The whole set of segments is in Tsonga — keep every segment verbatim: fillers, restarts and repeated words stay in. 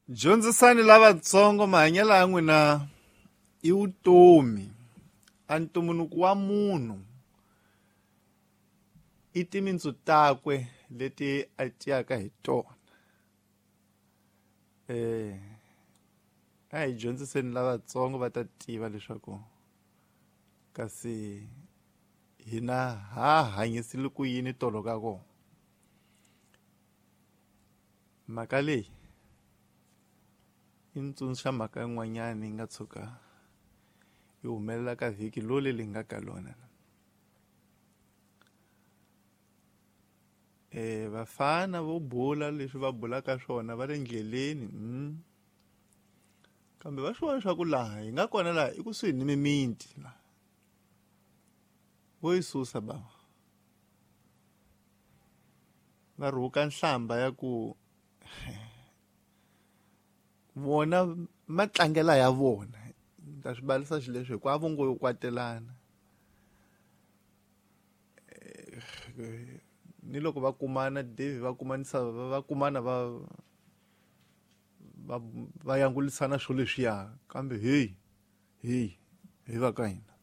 Dyondzisani lavatsongo mahanyelo ya n'wina i vutomi. A ntumbuluko wa munhu i timintsu takwe leti a tiyaka hi tona. Eh a hi dyondziseni lavatsongo va ta tiva leswaku kasi hina ha hanyisile ku yini tolo ka kona. Mhaka leyi i ntsundzuxa mhaka yin'wanyana yi nga tshuka yi humelela ka vhiki loli li nga ka lona. Eh vafana vo bula leswi va bulaka swona va le ndleleni mm. Kambe va swi vona leswaku laha hi nga kona laha i kusuhi ni mimiti laha vo yi susa bava va rhuka nhlamba ya ku vona matlangela ya vona ni ta swi balisa xileswi hikuva a vo ngo yo kwatelana ni loko va kumana Dave va kumanisa va kumana va va va yangulisana swo leswiya kambe hey hey hi va ka hina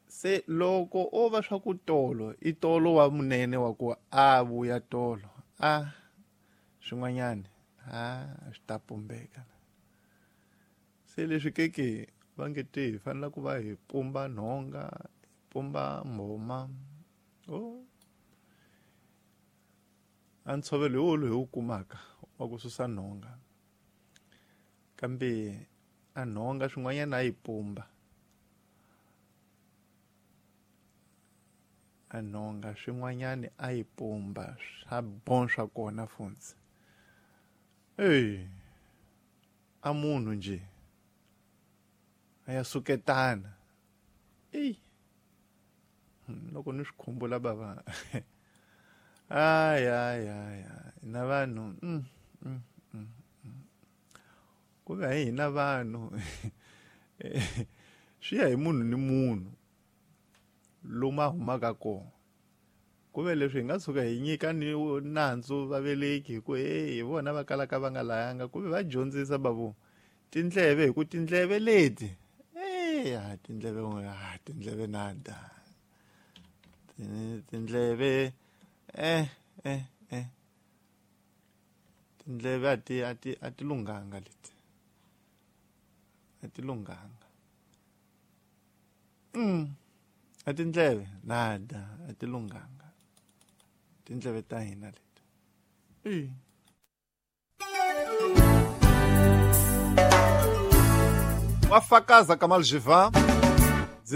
se loko o va swa ku tolo i tolo wa munene wa ku a vuya tolo a swin'wanyana a swi ta pumbeka se leswi keke va nge te hi fanele ku va hi pumba nhonga hi pumba mbhoma o a ntshovelo hi wolo hi wu kumaka wa ku susa nhonga kambe a nhonga swin'wanyana a yi pumba a nhonga swin'wanyana a yi pumba swa bon swa kona funtsi ey a munhu nje a ya suketana ey loko ni swi khumbula bava ay ay ay na vanhu mm, mm, mm, mm. Ku ve hi hina vanhu swi ya hi munhu ni munhu lomu a humaka kona ku ve leswi hi nga tshuka hi nyika ni nandzu vaveleki hi ku hey hi vona va kalaka va nga layanga ku ve va dyondzisa bavu tindleve hi ku tindleve leti eh tindleve ah tindleve nada tindleve eh eh eh tindleve a ti a ti a ti lunghanga leti a ti lunghanga mm a tindleve nada a ti lunghanga tindleve ta hina leti eh Wa fakaza Kamal Jivan.